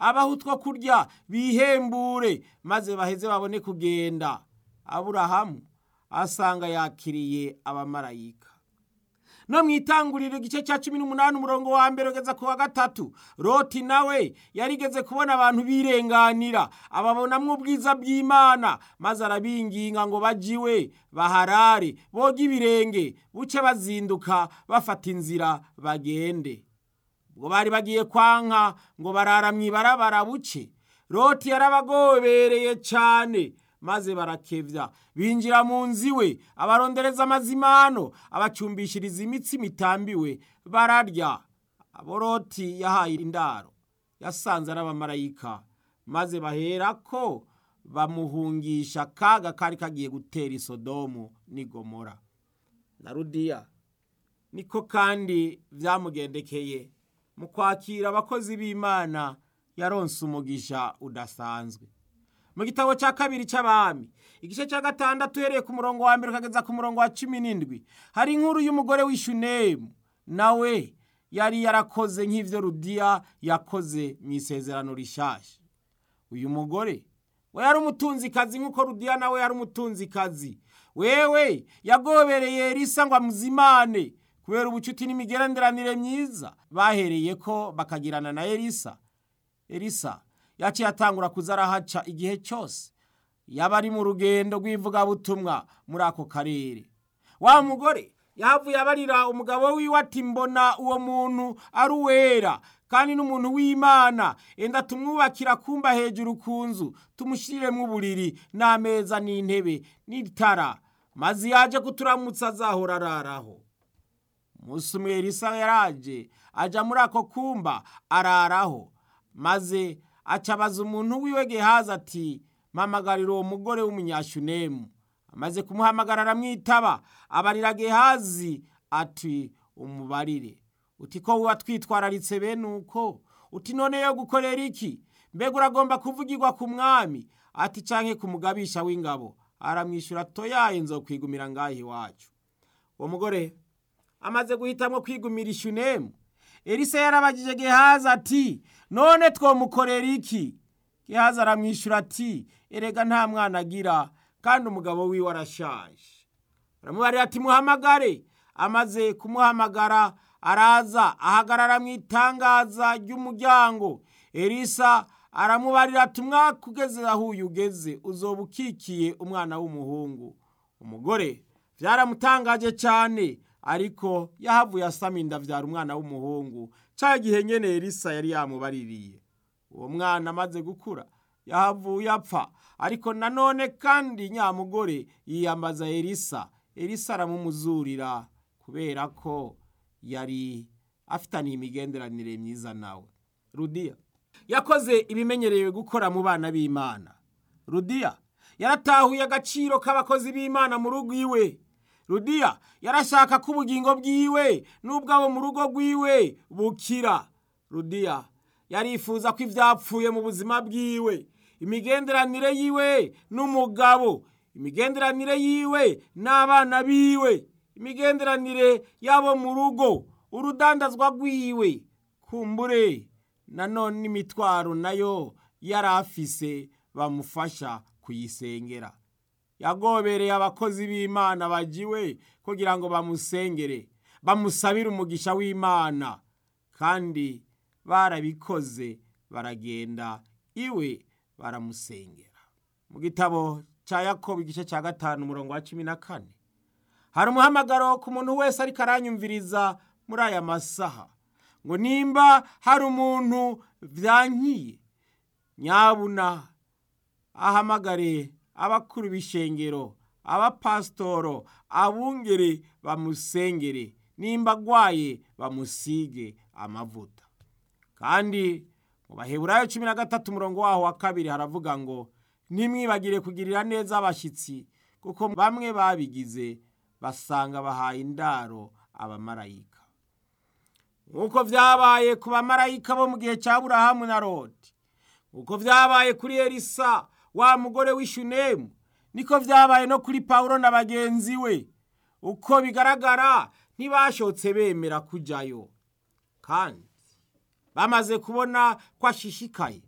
Abaha utwo kurya bihembure, maze baheze babone kugenda. Aburahamu asanga yakiriye abamarayika. No mu itanguriro igice cya 18 umurongo wa 1 ugeza ku wa 3, Loti nawe yarigeze kubona abantu birenganira, ababonamwo ubwiza bw'Imana, maze arabinginga ngo bajiwe baharare boge ibirenge, buce bazinduka bafata inzira bagende. Ubwo bari bagiye kwanka ngo barara mw'ibarabara buce, Loti yarabagobereye cane, maze barakevya binjira mu nzu iwe, abarondereza amazimano, abacumbishiriza imitsima itambiwe, bararya. Abo Loti yahaye indaro yasanze ari abamarayika, maze baherako bamuhungisha akaga kari kagiye gutera i Sodomu n'i Gomora. Na Rudiya niko kandi vyamugendekeye mu kwakira abakozi b'Imana, yaronse umugisha udasanzwe. Mu gitabo cya kabiri c'Abami igice cya 6 uhereye ku murongo wa 1 ukageza ku murongo wa 17, hari inkuru y'umugore w'Ishunemu, nawe yari yarakoze nk'ivyo Rudiya yakoze mu isezerano rishasha. Uyu mugore we yari umutunzikazi nk'uko Rudiya nawe yari umutunzikazi. Wewe yagobereye Elisa ngo amuzimane kubera ubucuti n'imigenderanire myiza bahereyeko bakagirana na Elisa. Elisa yaciye atangura kuza arahaca igihe cyose yaba ari mu rugendo rw'ivugabutumwa muri ako karere. Wa mugore yahavuye abarira umugabo wiwe ati: mbona uwo muntu ari uwera kandi n'umuntu w'Imana, enda tumwubakira kumba hejuru ku nzu, tumushiriremwo uburiri n'ameza n'intebe n'itara, maze yaje kuturamutsa azahora araraho. Umunsi umwe Elisa yaraje aja muri ako kumba araraho, maze acabaza umuntu wiwe Gehazi ati: mpamagarira uwo mugore w'umunyashunemu. Amaze kumuhamagara aramwitaba, abarira Gehazi ati: umubarire uti ko wuba twitwararitse bene uko, uti none yo gukorera iki? Mbega uragomba kuvugirwa ku mwami? Ati canke ku mugabisha w'ingabo? Aramwishyura toyaye, nzokwigumira ngaho iwacu. Uwo mugore amaze guhitamwo kwigumira Ishunemu, Elisa yarabagije Gehazi ati: none twomukorera iki? Gehazi aramwishyura ati: erega nta mwana agira kandi umugabo wiwe arashaje. Aramubarira ati: muhamagare. Amaze kumuhamagara araza ahagarara mu itangaza ry'umuryango. Elisa aramubarira ati: umwaka ugeze aho uyu ugeze uzoba ukikiye umwana w'umuhungu. Umugore byaramutangaje cyane, ariko yahavuye asama inda avyara umwana w'umuhungu ca gihe nyene Elisa yari yamubaririye. Uwo mwana amaze gukura yahavuye apfa, ariko nanone kandi nyamugore yiyambaza Elisa. Elisa aramumuzurira kubera ko yari afitaniye imigenderanire myiza nawe. Rudiya yakoze ibimenyerewe gukora mu bana b'Imana. Rudiya yaratahuye agaciro k'abakozi b'Imana mu rugo iwe. Rudiya yarashaka ko ubugingo bwiwe n'ubwabo mu rugo rwiwe bukira. Rudiya yarifuza ko ivyapfuye mu buzima bwiwe, imigenderanire yiwe n'umugabo, imigenderanire yiwe n'abana biwe, imigenderanire yabo mu rugo, urudandazwa rwiwe, kumbure nanone imitwaro nayo yarafise bamufasha kuyisengera. Yagobereye abakozi b'Imana bajiwe kugira ngo bamusengere, bamusabire umugisha w'Imana, kandi barabikoze, baragenda iwe baramusengera. Mu gitabo ca Yakobo igice cya 5 umurongo wa 14 hari umuhamagaro ku muntu wese ariko aranyumviriza muri aya masaha, ngo nimba hari umuntu vyankiye, nyabuna ahamagare abakuru b'ishengero, abapasitoro, abungere bamusengere, nimba agwaye bamusige amavuta. Kandi mu Baheburayo 13 umurongo waho wa 2 haravuga ngo: ntimwibagire kugirira neza abashyitsi, kuko bamwe babigize basanga bahaye indaro abamarayika. Nk'uko vyabaye ku bamarayika bo mu gihe cya Aburahamu na Loti, nk'uko vyabaye kuri Elisa wa mugore w'Ishunemu, niko vyabaye no kuri Pawulo na bagenzi we. Uko bigaragara ntibashotse bemera kujayo, kandi bamaze kubona ko ashishikaye.